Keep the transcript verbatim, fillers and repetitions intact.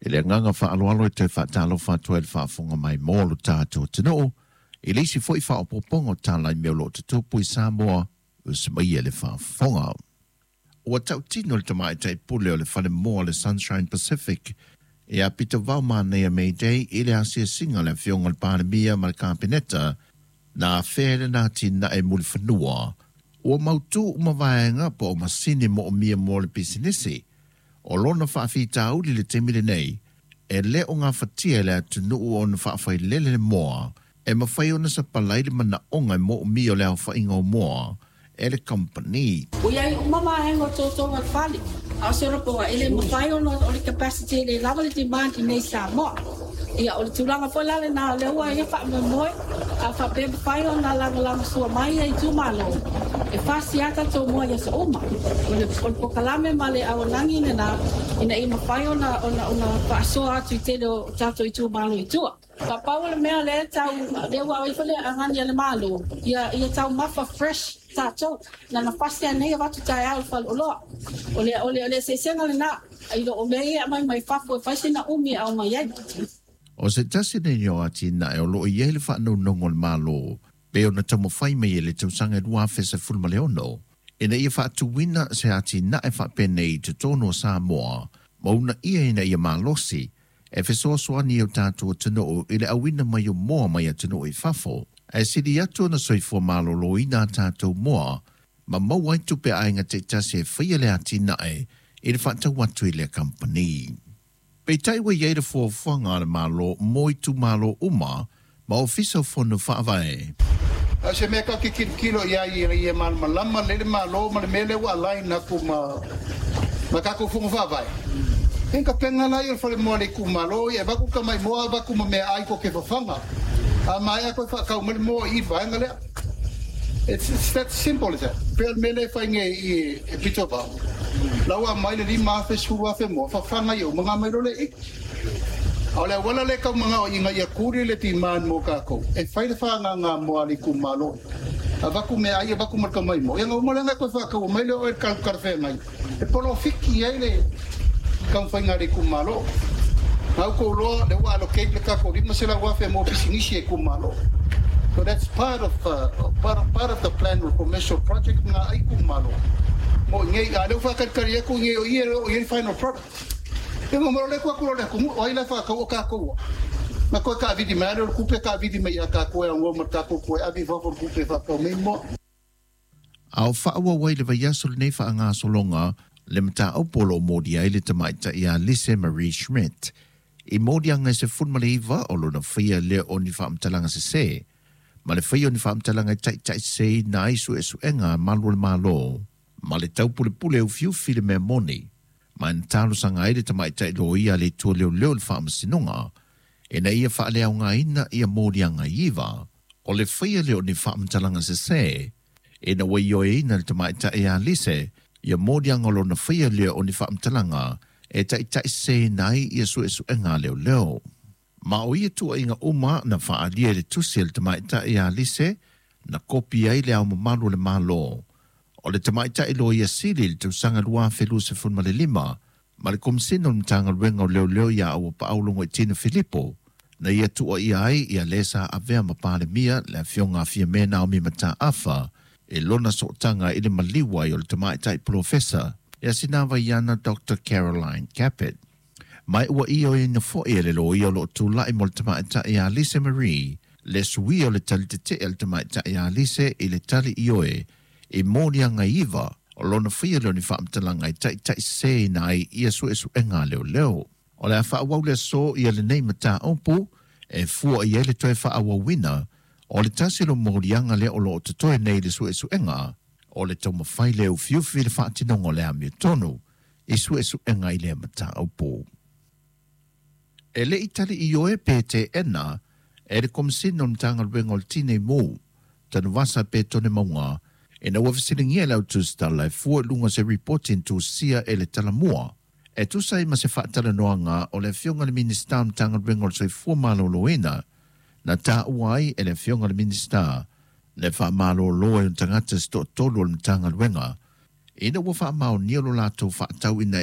I le agaga faaaloalo e toe faatalofa atu ai le faafofoga mai mo lo tatou atunuu i le isi foi faaopoopoga o tala i mea o lo o tutupu i Samoa usimaia le faafofoga. Ua tautino le tamaitai pule o le falemoa le Sunshine Pacific ia Pita Vaomanea Mayday i le asiasiga le afioga le Palemia ma le Kapeneta na afea le na atinae mulifanua ua mautu uma vaega po o masini moomia mo le pisinisi o lona faafitauli le taimi lenei e le o gafatia e le atunuu ona faafailele le moa e mafai ona sapalai le manaoga e moomia o le aofaiga o moa e le kamupani. Ua iai uma vaega o totonu o le fale, a o se olopoga e le mafai ona o le capacity e le lava le demand i nei Samoa. Ia o le tulaga foi la lena o lea ua ia faamoemoe a faapea mafai ona lagolagosua mai ia itumalo e fasia tatou moa i aso uma. O le, o le polokalame ma le auaunaga lena ina ia mafai ona, ona, ona faasoa atu i tele o tatou itumalo i tua. Pau o le mea lea tau lea ua ai foi le agani a le Malo ia ia taumafa fresh tatou na na fasi nei avatu taeao i faleoloa. O le o le o le eseesega lena i lo o mea ia aumai mai fafo e fai sina umi e aumai ai. O se tasi nei o atinae o lo o i ai le faanaunaunga o le Malo pe ona taumafai mai e le tausaga e lua afe sefulu ma le ono ina ia faatuina se atinae faapenei i totonu o Samoa ma uunaia ina ia malosi e fesoasoani i o tatou atunuu i le auina mai o moa mai atunuu i fafo ae sili atu ona soifua maloloina a tatou moa ma maua ai tupe a aiga taitasi e faia le atinae i le faatau atu i lea kamupani. Peitai ua i ai le fuafuaga a le Malo mo itumalo uma ma Ofisa o Fono Faavae. A o se mea tatou te tilotilo i ai ina ia malamalama lelei le Malo ma le mea lea ua align atu ma ma tatou Fono Faavae. Ia na tapena lea o le falemoa a le itumalo, ia e avatu tamai moa, avatu ma meaai tou te fafaga. A maea toe faatau mai le moa i i le vaega lea. It's, it's that simple as that. Pei o le mea lea e fai nei i e pito vao. La ua aumai le lima afe, sefulu afe moa, fafaga ia uma ona aumai loa lea i i. A o le auala lea e tau manao ina ia kuli le demand mo tatou, e fai le faaagaga moa a le itumalo. Avatu meaai, avatu ma le tamai moa, ia ona uma lea ona e toe faataua mai lea o oe i le talafeagai e polofiti ai le taumafaiga a le itumalo. Na outou iloa lea ua allocate le tatou lima selau afe mo pisinisi e itumalo. So that's part of, uh, part of, part of the plan o le commercial project na a itumalo mo i nei. A lea ua faatalitali atu i nei o ia o i ai le final product. Ia ma malo le atu atu loa le atunuu, o ai la e faatau o tatou a. Na toe taavili mai lea o le tupe taavili mai ia tatou e aunoa ma le tatou toe ave i fafo le tupe e faatau mai moa. A o faaauau ai le vaiaso lenei faagasologa le mataupu o lo o molia ai le tamaitai ia Lise Marie Schmidt i moliaga e sefulu ma le iva o lona faia lea o ni faamatalaga sesē ma le faia o ni faamatalaga e taitaiseseina ai suesuega a malu o le Malo ma le taupulepule ufiufi le mea moni ma e na talosaga ai le tamaitai loia a le Itu o Leoleo i le Faamasinoga ina ia faaleaogaina ia moliaga iva o le faia lea o ni faamatalaga sesē ina ua ioeina le tamaitai ia Lise ia moliaga o lona faia lea o ni faamatalaga e taitaiseseina ai ia suesuega a leoleo. Ma o ia tuuaiga uma na faaalia i le tusi a le tamaitai ia Lise na kopi ai Le Ao Mamalu o le Malo o le tamaitai loia sili i le tausaga lua afe luasefulu ma le lima ma le Komisina o le Matagaluega o Leoleo ia Auapaau Logoitino Filipo na ia tuuaia ai ia le sa avea ma Palemia le afioga a Fiame Naomi Mataafa i lona sootaga i le maliu ai o le tamaitai polofesa ia Sinavaiana Doctor Caroline Capet. Ma ua ioeina foi e le loia o lo o tulai mo le tamaitai ia Lise Marie le suia o le tali tetee a le tamaitai ia Lise i le tali ioe i moliaga iva o lona faia lea o ni faamatalaga e taitaiseseina ai ia suesuega a leoleo. O le a faaauau le aso ia lenei mataupu e fua i ai le toe faaauauina o le tasi o moliaga lea o lo o totoe nei i le suesuega o le taumafai lea ufiufi le faatinoga o le amiotonu i suesuega i lea mataupu. E le i tali ioe pe teena e le Komisina o le Matagaluega o le Tinei Mu, Tanuvasa pe Tone Mauga ina ua fesiligia e le autusitala e fua i luga o se ripoti na tusia e le Talamua e tusa ai ma se faatalanoaga o le afioga i le Minisita o le Matagaluega o le Soifua Maloloina na taua ai e le afioga i le Minisita le faamalolo ai o tagata se toatolu o le Matagaluega ina ua faamaonia lo latou faatauina